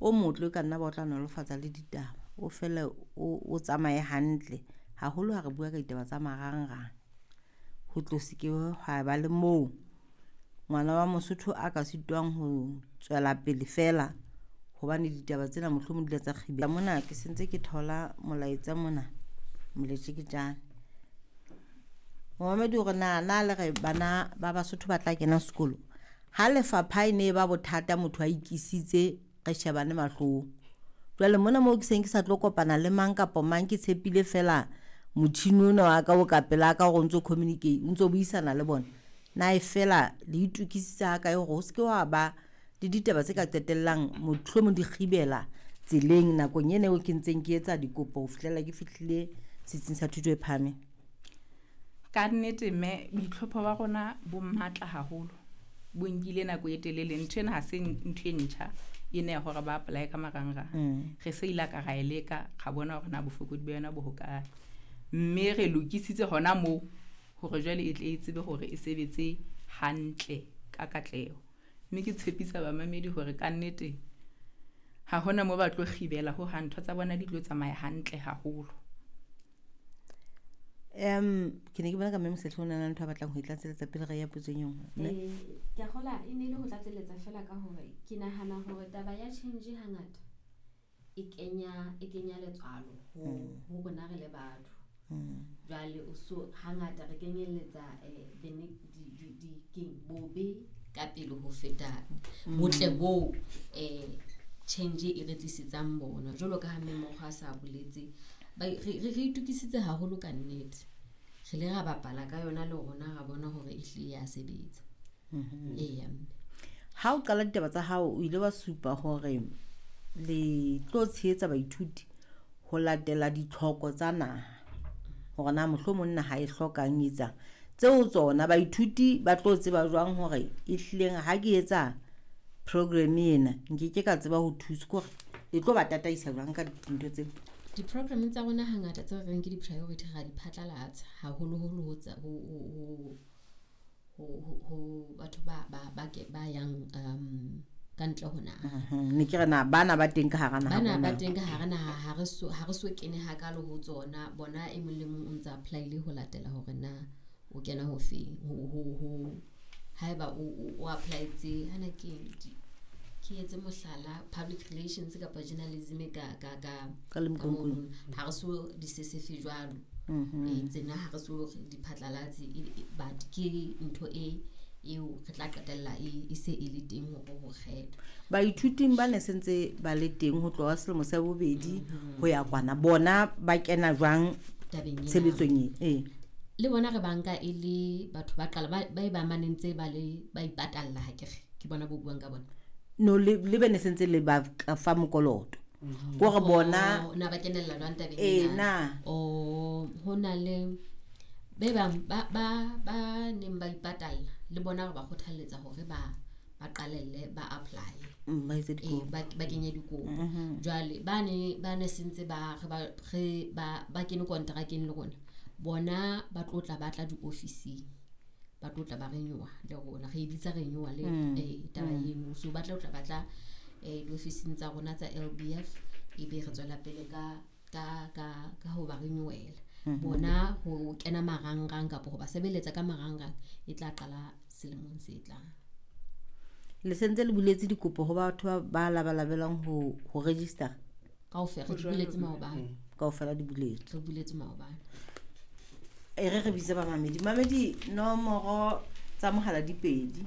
O motle o ka nna ba o tla nolofatsa le ditaba, o fele o tsamaye hantle. Haholo ha re bua ka ditaba tsa marangrang, ho tlo se ke hwa ba le moo ngwana wa Mosotho a ka sitwang ho tswela pele feela hobane ditaba tsena mohlomong di ile tsa kgibela. Mona ke sentse ke thola molaetsa mona moletjeketjane. Momamedi hore na le re bana ba Basotho ba tla kena sekolo. Ha lefapha e ne ba bothata motho a ikisitse re shebane mahlong. Jwale mona moo ke seng ke sa tlo kopana le mang kapa mang, ke tshepile fela motjhini ona wa ka o ka pela ka hore o ntso communicate, o ntso buisana le bona. Na e fela le itokisitse ha kae hore ho se ke wa ba le ditaba tse ka qetellang mohlomong di kgibela tseleng nakong ena eo ke ntseng ke etsa dikopo ho fihlela ke fihlile setsing sa thuto e phahameng? Ka nnete mme boitlhopho ba rona bo matla haholo, bo nkile nako e telele. Ntho ena ha se ntho e ntjha ena ya hore ba apply ka marangrang. Re se ile ka ra e leka, ra bona hore na bofokodi ba yona bo hokae, mme re lokisitse hona moo hore jwale e tle e tsebe hore e sebetse hantle ka katleho. Mme ke tshepisa bamamedi hore ka nnete ha hona moo ba tlo kgibela ho hang, ntho tsa bona di tlo tsamaya hantle haholo. Ke ne ke bona ka mme Mosehle o na le ntho a batlang ho e tlatseletsa pele re ya potsong e nngwe. Ke a kgola e ne e le ho tlatseletsa fela ka hore ke nahana hore taba ya change hangata e kenya letswalo ho rona re le batho. Jwale o so hangata re kenyelletsa bobe ka pele ho feta botle bo change e re tlisetsang bona. Jwalo ka ha mme Mokgwa a sa boletse, re itokisitse haholo ka nnete. Re le ra bapala ka yona le rona ra bona hore e hlile ya sebetsa. Eya mme. Ha o qala ditaba tsa hao o ile wa supa hore le tlo tshehetsa baithuti ho latela ditlhoko tsa naha, hore na mohlomong naha e hlokang etsang. Tseo tsona baithuti ba tlo tseba jwang hore e hlileng ha ke etsa program ena nkeke ka tseba ho thusa, ke hore le tlo ba tataisa jwang ka dintho tseo? Di-program tsa rona hangata tse re reng ke di-priority ra di phatlalatsa haholoholo ho tsa ho batho ba yang ka ntle ho naha. Ne ke re na bana ba teng ka hara naha, bana ba teng ka hara naha ha re so kene hakalo ho tsona. Bona e mong le mong o ntsa apply-ile ho latela hore na o kena ho feng, ho haeba o apply-etse hana ke etse mohlala public relations kapa journalism ka mono ha re so di sesefe jwalo. Tsena ha re so di phatlalatse, but ke ntho e eo re tla qetella e se e le teng hore ho kgethwa. Baithuting ba ne sentse ba le teng ho tloha selemo sa bobedi ho ya kwana, bona ba kena jwang tshebetsong e? Le bona re banka e le batho ba qala ba ba manentse ba le ba ipatalla, ha ke re ke bona bo buang ka bona. No le be ne sentse le ba fa mokoloto. Hore bona na ba kenella jwang tabeng ena? O ho na le be bang ba neng ba ipatalla le bona re ba kgothalletsa hore ba qalelle ba apply, ba kenye dikopo. Jwale ba ne sentse ba kene kontrakeng le rona, bona ba tlo tla ba tla diofising, ba tlo tla ba renewa le rona, re e bitsa renewal taba eno. So ba tlo tla ba tla diofising tsa rona tsa LBF, ebe re tswela pele ka ho ba renewela. Bona ho kena marangrang kapa ho ba sebeletsa ka marangrang e tla qala selemong se tlang. Le sentse le buletse dikopo ho batho ba labalabelang ho register? Kaofela re di buletse maobane. Kaofela di buletse. Re buletse maobane. E re bitse ba mamedi. Mamedi nomoro tsa mohala di pedi.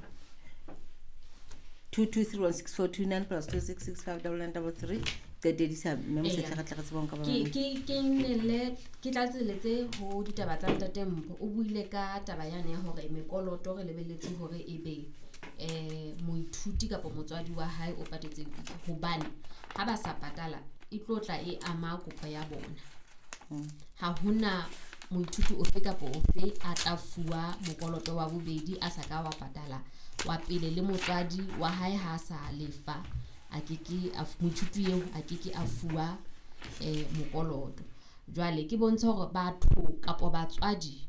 22316429 plus 26659933. Qetedisa mme Mosehle re tle re tsebe ka ba. Ke nnele ke tlatseletse ho ditaba tsa Ntate Mpho. O buile ka taba yane ya hore mekoloto re lebelletse hore e be moithuti kapa motswadi wa hae o patetse, hobane ha ba sa patala e tlo tla e ama kopo ya bona. Ha hona moithuti ofe kapa ofe a tla fuwa mokoloto wa bobedi a sa ka wa patala wa pele, le motswadi wa hae ha sa lefa a keke a moithuti eo a keke a fuwa mokoloto. Jwale ke bontsha hore batho kapa batswadi